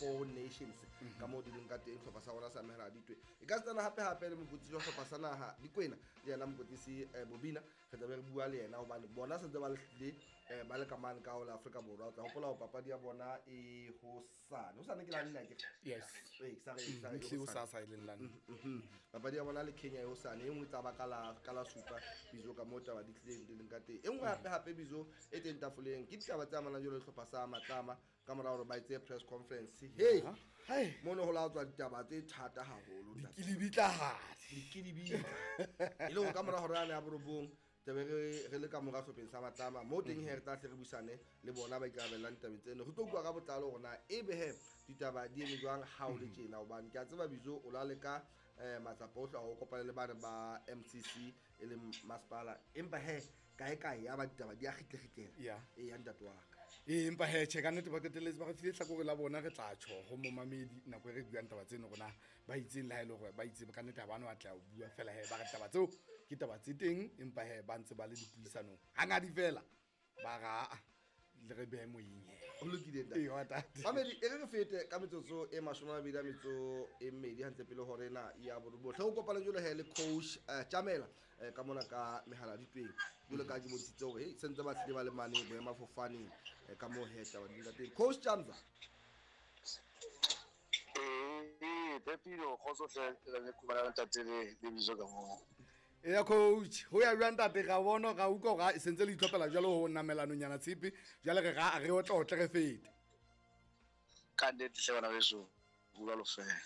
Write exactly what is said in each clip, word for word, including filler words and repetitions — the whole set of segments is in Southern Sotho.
Four Nations ka moo di leng ka teng sehlopha sa rona sa Mehaladitwe. E ka setsana hape hape le mokwetlisi wa sehlopha sa naha Dikwena le yena mokwetlisi eh, Bobina, re tla be re bua le yena hobane bona sentse ba le hlile eh, ba le ka mane ka ho la Afrika Borwa. O tla hopola hore papadi ya bona e hosane, hosane ke la nne akere? Yes. Ee, sa re- sa re e Ehlile hosane. hosasa e leng la nne. Mhm. Papadi ya bona le Kenya e hosane, e nngwe e tla ba ka la ka la supa bizo ka moo taba di tlileng di leng ka teng. E nngwe hape hape bizo e teng tafoleng ke ditaba tse amanang jwalo le sehlopha sa Matlama ka mora hore ba etse press conference. Hey, Hai. mono ho la tswa ditaba tse thata haholo, ntate. Dikilibitlahadi. Dikidibitla e le hore ka mora hore a ne a borobong tlabe re re le ka mora hlopheng sa Matlama mo teng he, re tla hle re buisane le bona ba ikarabellang ditabeng tseno, re tlo bua ka botlalo hore na ebe he ditaba di eme jwang ha o le tjena, hobane ke a tseba bizo o la leka um matsapa ohle a ho kopana le bane ba M C C e leng masepala, empa he kae kae ya ba ditaba di a kgitlekgitlela. Ya. E ya, ntate wa ka. Ee, empa he tjhe, ka nnete ba qetelletse ba re file tlhakore la bona. Re tla tjho ho momamedi nako e re buang taba tseno rona ba itseng, le ha e le hore ba itse ka nnete ha ba no atleha ho bua fela he ba re taba tseo ke taba tse teng, empa he ba ntse ba le dipuisanong hangadi fela ba ra aa le re behe moyeng he. Ho lokile, ntate. Ee, wa tate. Mamedi, e re re fete ka metsotso e mashome a mabedi a metso e mmedi hantle pele hore na ya bohle ho kopana jwalo he le coach eh, Tjamela eh, ka mona ka mehala ditweng jwalo ka ke bontshitse hore hey, sentse ba tlile ba le mane boemafofaneng eh, ka moo he taba di leng ka teng, coach Jamza. Ee, Pepino, kgotso hle, re khumana le ntate le le bizo ka moo. Eya coach, ho ya jwang ntate? Ra bona, ra utlwa hore se ntse le itlhophela jwalo ho namelanonyana tshepe jwale re ra re otlotle re fete. Ka nnete hle bana beso, jwalo fela.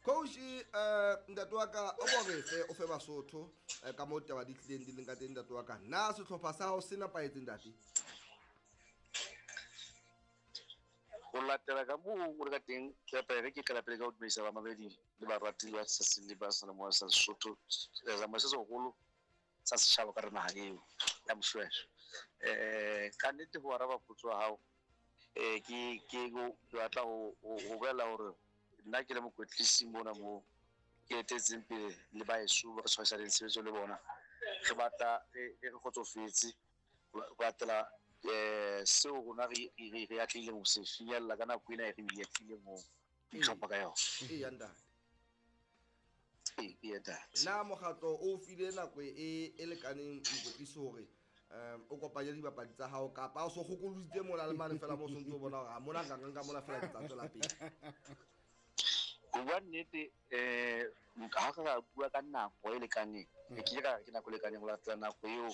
Coach, eh, ntate wa ka, o bo re fe o fe Basotho eh, ka moo taba di tlileng di leng ka teng, ntate wa ka. Na sehlopha sa hao se nepahetse, ntate? Ho latela ka moo o le ka teng, ke re ke qala pele ka ho dumedisa bamamedi le barati ba sa le ba seyalemoya sa Sesotho, seyalemoya se seholo sa setjhaba ka re naha eo ya Moshweshwe. um ka nnete ho araba potso ya hao, um ke ke ke batla ho ho bolela hore nna ke le mokwetlisi mona mo ke etetseng pele le baeso ba re tshwarisaneng tshebetso le bona, re batla re re kgotsofetse ho latela um seo rona re re re atlehileng ho se finyella ka nako ena e re atlehileng ho itlhopha ka yona. Eya, ntate. Ee, ee, ntate. Na mokgatlo o file nako e e lekaneng mokwetlisi hore um o kopanye dibapadi tsa hao, kapa o so kgokolositse mola le mane fela mo o sontse o bona hore a mona nka nka mona fela ke tla tswela pele? Ho bua nnete, um ha re ka bua ka nako e lekaneng, ke kile ka re ke nako e lekaneng ho latela nako eo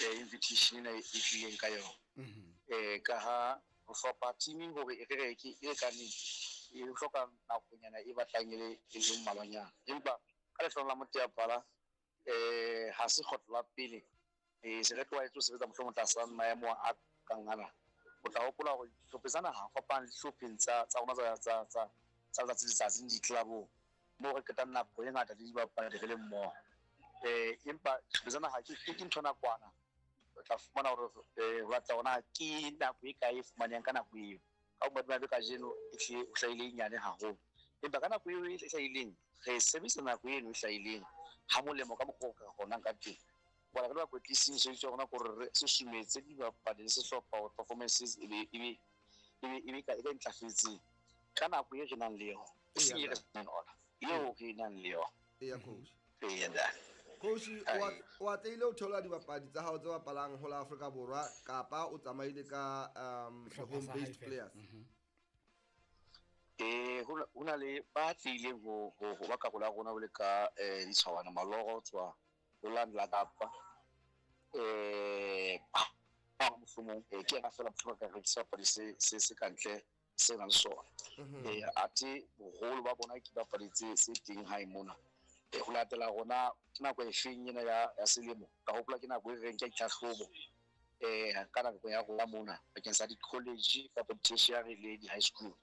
eh, invitation ena e tlileng ka yona, um ka ha ho hlopha team hore e re re ke e lekaneng e hloka nakonyana e batlang e le e le mmalwanyana, empa ka lehlohonolo la Moteaphala, um ha se kgetlo la pele um se re tlwaetse ho sebetsa mohlomong tlasa maemo a kang ana. O tla hopola hore dihlopha tsa naha fapana le dihlopheng tsa tsa rona tsa tsa tsa tsa letsatsi le letsatsi di-club-ong moo re qetang nako e ngata le dibapadi re le mmoho, um empa dihlopha tsa naha ke ke ntho nakwana. O tla fumana hore um ho latela hore na ke nako e kae e fumanehang ka nako eo. Ka bomadimabe kajeno e hlile o hlahile e nyane haholo, empa ka nako eo e hlahileng re sebedisa nako eno e hlahileng ha molemo ka mokgwa o ka kgonang ka teng. Bona re le bakwetlisi, mosebetsi wa rona ke hore re susumetse dibapadi le sehlopha hore performances e be e be e be e be e ntlafetseng ka nako e re nang le yona, e seng e re senang ona, eo re nang le yona. Eya, coach. Eya, ntate. Coach, o a- o atlehile ho theola dibapadi tsa hao tse bapalang ho la Afrika Borwa, kapa o tsamaile ka um Sehlopha home sa based hae fela. players? Eh ho na- ho na le ba tlileng ho ho ho ba karolo ya rona ho le ka eh ditshwawana maloro ho tswa ho la la Kapa, eh ba mohlomong eh ke yena fela mohlomong ka re ke sebapadi se se se kantle se nang le sona, eh ate boholo ba bona ke dibapadi tse tse teng hae mona. Eh ho latela rona ke nako e feng ena ya ya selemo, ka hopola ke nako e reng ke ya ditlhahlobo eh ka nako ya rona mona bakeng sa di-college kapa di-tertiary le di-high school,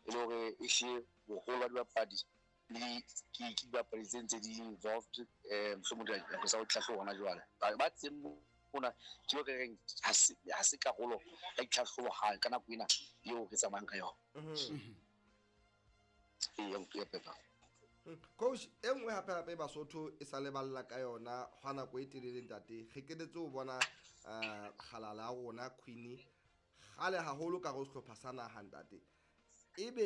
e le hore e hlile boholo ba dibapadi le ke ke dibapadi tse ntse di involved eh mohlomong dinako tsa ho tlhahlobo hona jwale ba ba teng mona ke ho re reng ha se ha se karolo ya ditlhahlobo ha ka nako ena eo re tsamayang ka yona. Ee, ya Pepa. Coach, e nngwe hape hape Basotho e sa leballa ka yona hwa nako e telele, ntate, re qetetse ho bona um kgalala ya rona Queenie kgale haholo ka ho sehlopha sa naha, ntate, ebe